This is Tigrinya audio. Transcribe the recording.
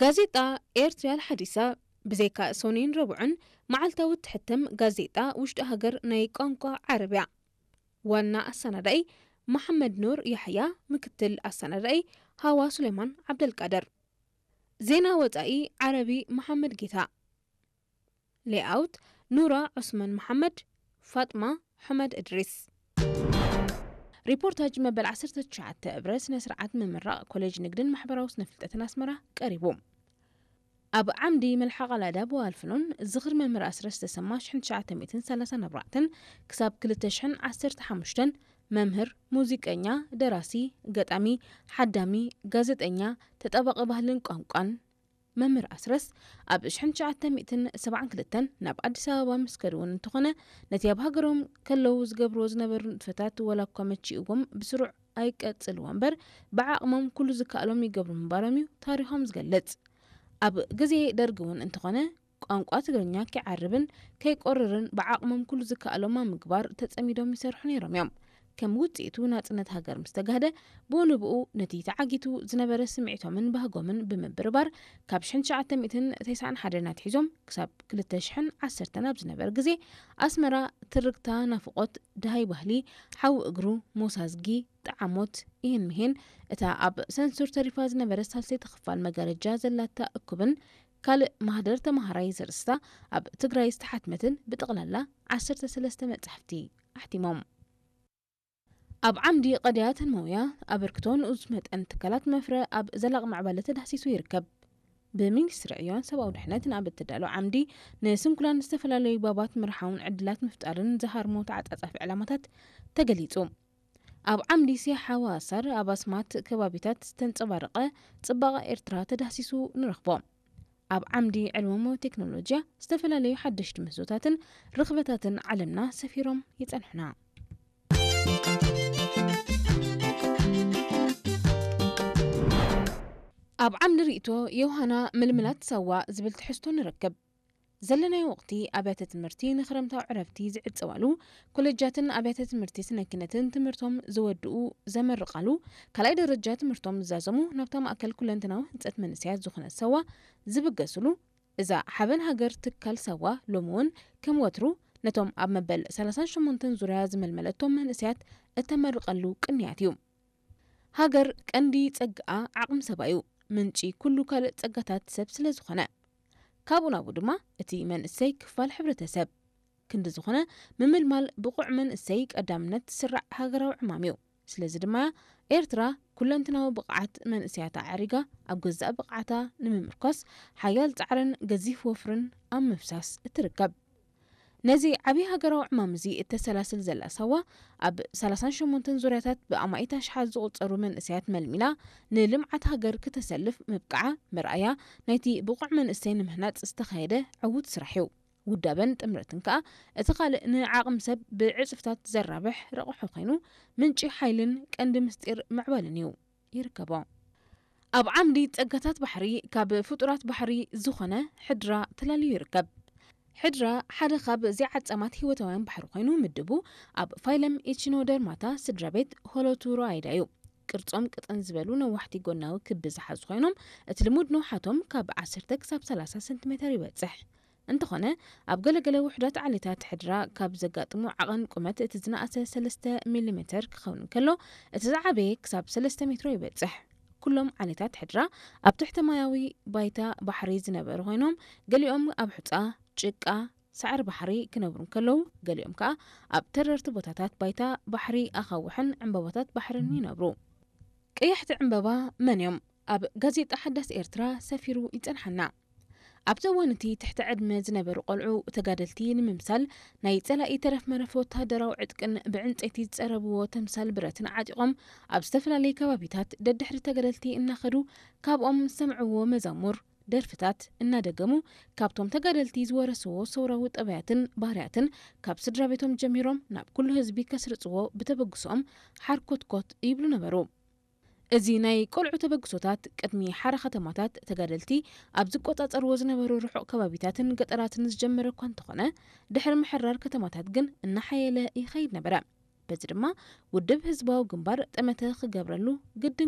ጋዜጣ ኤርትርያ ኣልሓዲሳ ብዘይካ ሶኒን ረቡዕን መዓልታዊ እትሕተም ጋዜጣ ውሽጢ ሃገር ናይ ቋንቋ ዓረብያ። ዋና ኣሰናዳኢ መሓመድ ኑር ያሕያ፣ ምክትል ኣሰናዳኢ ሃዋ ሱሌማን ዓብደልቃድር። ዜና ወጻኢ ዓረቢ መሓመድ ጌታ። ሌኣውት ኑራ ዑስማን መሓመድ፣ ፋጥማ ሑመድ እድሪስ። ሪፖርታጅ መበል ዓሰርተ ትሽዓተ እብረ ስነ ስርዓት ምምራቕ ኮሌጅ ንግድን ማሕበራዊ ስነ ፍልጠትን ኣስመራ ቀሪቡ። ኣብ ዓምዲ መልሓቕ ኣላዳ ብዋልፍኖን ዝኽሪ መምህር ኣስረስ ተሰማ ሽሕን ትሽዓተ ሚእትን ሰላሳን ኣርባዕተን ክሳብ ክልተ ሽሕን ዓሰርተ ሓሙሽተን መምህር፣ ሙዚቀኛ፣ ደራሲ፣ ገጣሚ፣ ሓዳሚ፣ ጋዜጠኛ፣ ተጣባቒ ባህልን ቋንቋን መምህር ኣስረስ ኣብ ሽሕን ትሽዓተ ሚእትን ሰብዓን ክልተን ናብ ኣዲስ ኣበባ ምስ ከዱ እውን እንተኾነ፣ ነቲ ኣብ ሃገሮም ከለዉ ዝገብርዎ ዝነበሩ ንጥፈታት ወላ እኳ መቺእዎም ብስሩዕ ኣይቀጽልዎ እምበር፣ ብዓቕሞም ኩሉ ዝከኣሎም ይገብሩ ምንባሮም እዩ ታሪኾም ዝገልጽ። ኣብ ግዜ ደርጊ እውን እንተኾነ፣ ቋንቋ ትግርኛ ከይዓርብን ከይቆርርን ብዓቕሞም ኩሉ ዝከኣሎም ኣብ ምግባር ተጸሚዶም ይሰርሑ ነይሮም እዮም። ከም ውጽኢቱ ናጽነት ሃገር ምስ ተጋህደ፣ ብኡ ንብኡ ነቲ ተዓጊቱ ዝነበረ ስምዒቶምን ባህጎምን ብምብርባር፣ ካብ ሽሕን ትሽዓተ ሚእትን ተስዓን ሓደን ኣትሒዞም ክሳብ ክልተ ሽሕን ዓሰርተን ኣብ ዝነበር ግዜ፣ ኣስመራ ትርግታ ናፍቖት፣ ደሃይ ባህሊ፣ ሓዊ እግሩ፣ ሞሳዝጊ፣ ጠዓሞት፣ ይህን ምሂን፣ እታ ኣብ ሰንሱር ተሪፋ ዝነበረት ሳልሰይቲ ክፋል መጋረጃ ዘላታ እኩብን ካልእ ማህደር ተማሃራይ ዘርእስታ ኣብ ትግራይ ዝተሓትመትን ብጠቕላላ ዓሰርተ ሰለስተ መጻሕፍቲ ኣሕቲሞም። ኣብ ዓምዲ ቀዳያትን መውያ ኣበርክቶ ንኡስ መጠን ትካላት መፍረ ኣብ ዘላቒ ምዕባለ ተዳህሲሱ ይርከብ። ብሚኒስትሪ ዕዮን ሰብኣዊ ድሕነትን ኣብ እተዳሎ ዓምዲ ንስንኩላን ዝተፈላለዩ ባባት ምርሓውን ዕድላት ምፍጣርን ዝሃርሞ ተዓጻጻፊ ዕላማታት ተገሊጹ። ኣብ ዓምዲ ሲሓ ዋሳር ኣብ ኣስማት ከባቢታት ዝተንጸባረቐ ጽባቐ ኤርትራ ተዳህሲሱ ንረኽቦ። ኣብ ዓምዲ ዕልሞሞ ቴክኖሎጂያ ዝተፈላለዩ ሓደሽቲ ምህዞታትን ርኽበታትን ዓለምና ሰፊሮም ይጸንሑና። ኣብ ዓምዲ ርእይቶ ዮሃና ምልምላት ሳዋ ዝብል ትሕዝቶ ንረክብ። ዘለናዮ ወቕቲ ኣብያተ ትምህርቲ ንክረምታዊ ዕረፍቲ ዝዕጸዋሉ፣ ኮለጃትን ኣብያተ ትምህርቲ ስነ ኪነትን ትምህርቶም ዝወድኡ ዘመርቓሉ፣ ካልኣይ ደረጃ ትምህርቶም ዝዛዘሙ ናብታ ማእከል ኩለንተናዊ ህንጸት መንእሰያት ዝኾነት ሳዋ ዝብገስሉ፣ እዛ ሓበን ሃገር ትካል ሳዋ ሎሚ እውን ከም ወትሩ ነቶም ኣብ መበል ሰላሳን ሸሞንተን ዙርያ ዝመልመለቶም መንእሰያት እተመርቐሉ ቅንያት እዩ። ሃገር ቀንዲ ጸግኣ ዓቕሚ ሰባ እዩ፣ ምንጪ ኩሉ ካልእ ጸጋታት ሰብ ስለ ዝኾነ። ካብኡ ናብኡ ድማ እቲ መንእሰይ ክፋል ሕብረተሰብ። ክንዲ ዝኾነ፣ ምምልማል ብቑዕ መንእሰይ ቀዳምነት ዝስራዕ ሃገራዊ ዕማም እዩ። ስለዚ ድማ ኤርትራ ኩለንትናዊ ብቕዓት መንእሰያታ ኣዕሪጋ ኣብ ገዛእ ብቕዓታ ንምምርኳስ ሓያል ጻዕርን ገዚፍ ወፍርን ኣብ ምፍሳስ እትርከብ። ነዚ ዓቢ ሃገራዊ ዕማም እዚ እተሰላስል ዘላ ሳዋ፣ ኣብ ሰላሳን ሸሞንተን ዙርያታት ብኣማኢት ኣሽሓት ዝቑጸሩ መንእሰያት መልሚላ ንልምዓት ሃገር ክተሰልፍ ምብቃዓ መርኣያ ናይቲ ብቑዕ መንእሰይ ንምህናጽ ዝተኻየደ ዕዉት ስራሕ እዩ። ውዳበን ጥምረትን ከኣ እቲ ካልእ ንዓቕሚ ሰብ ብዕጽፍታት ዘራብሕ ረቑሑ ኮይኑ፣ ምንጪ ሓይልን ቀንዲ ምስጢር ምዕባለን እዩ። ይርከቦ። ኣብ ዓምዲ ጸጋታት ባሕሪ ካብ ፍጡራት ባሕሪ ዝኾነ ሕድራ ተላልዩ ይርከብ። ሕድራ ሓደ ካብ ዘይዓጸማት ህይወታውያን ባሕሪ ኮይኑ ምድቡ ኣብ ፋይለም ኢቺኖደርማታ ስድራ ቤት ሆሎቱሮይዳ እዩ። ቅርጾም ቅጥን ዝበሉ ነዋሕቲ ጎናዊ ክቢ ዝሓዙ ኮይኖም፣ እቲ ልሙድ ንውሓቶም ካብ ዓሰርተ ክሳብ ሰላሳ ሰንቲሜተር ይበጽሕ። እንተኾነ፣ ኣብ ገለገለ ውሑዳት ዓሌታት ሕድራ ካብ ዘጋጥሙ ዓቐን ቁመት እቲ ዝነኣሰ ሰለስተ ሚሊሜተር ክኸውን እንከሎ፣ እቲ ዝዓበየ ክሳብ ሰለስተ ሜትሮ ይበጽሕ። ኩሎም ዓሌታት ሕድራ ኣብ ትሕተ ማያዊ ባይታ ባሕሪ ዝነበሩ ኮይኖም፣ ገሊኦም ኣብ ሑጻ፣ ጭቃ፣ ሳዕሪ ባሕሪ ክነብሩ እንከለዉ፣ ገሊኦም ከኣ ኣብ ተረርቲ ቦታታት ባይታ ባሕሪ ኣኻውሕን ዕምባባታት ባሕርን ይነብሩ። ቀያሕቲ ዕምባባ መን እዮም? ኣብ ጋዜጣ ሓዳስ ኤርትራ ሰፊሩ ይጸንሓና። ኣብቲ እዋን እቲ ትሕቲ ዕድመ ዝነበሩ ቆልዑ ተጋደልቲ ንምምሳል ናይ ጸላኢ ተረፍ መረፍ ወተሃደራዊ ዕጥቅን ብዕንጸይቲ ዝጸረብዎ ተምሳል ብረትን ዓጢቖም ኣብ ዝተፈላለዩ ከባቢታት ደድሕሪ ተጋደልቲ እናኸዱ ካብኦም ዝሰምዕዎ መዛሙር፣ ደርፍታት እናደገሙ ካብቶም ተጋደልቲ ዝወረስዎ ሰውራዊ ጠባያትን ባህርያትን ካብ ስድራ ቤቶም ጀሚሮም ናብ ኩሉ ህዝቢ ከስርጽዎ ብተበግሶኦም ሓርኮትኮት ይብሉ ነበሩ። እዚ ናይ ቆልዑ ተበግሶታት ቅድሚ ሓራ ከተማታት ተጋደልቲ ኣብ ዝቆጻጸርዎ ዝነበሩ ርሑቕ ከባቢታትን ገጠራትን ዝጀመረ እኳ እንተኾነ፣ ድሕሪ ምሕራር ከተማታት ግን እናሓየለ ይኸይድ ነበረ። በዚ ድማ ውድብ ህዝባዊ ግንባር ጠመተ ክገብረሉ ግድን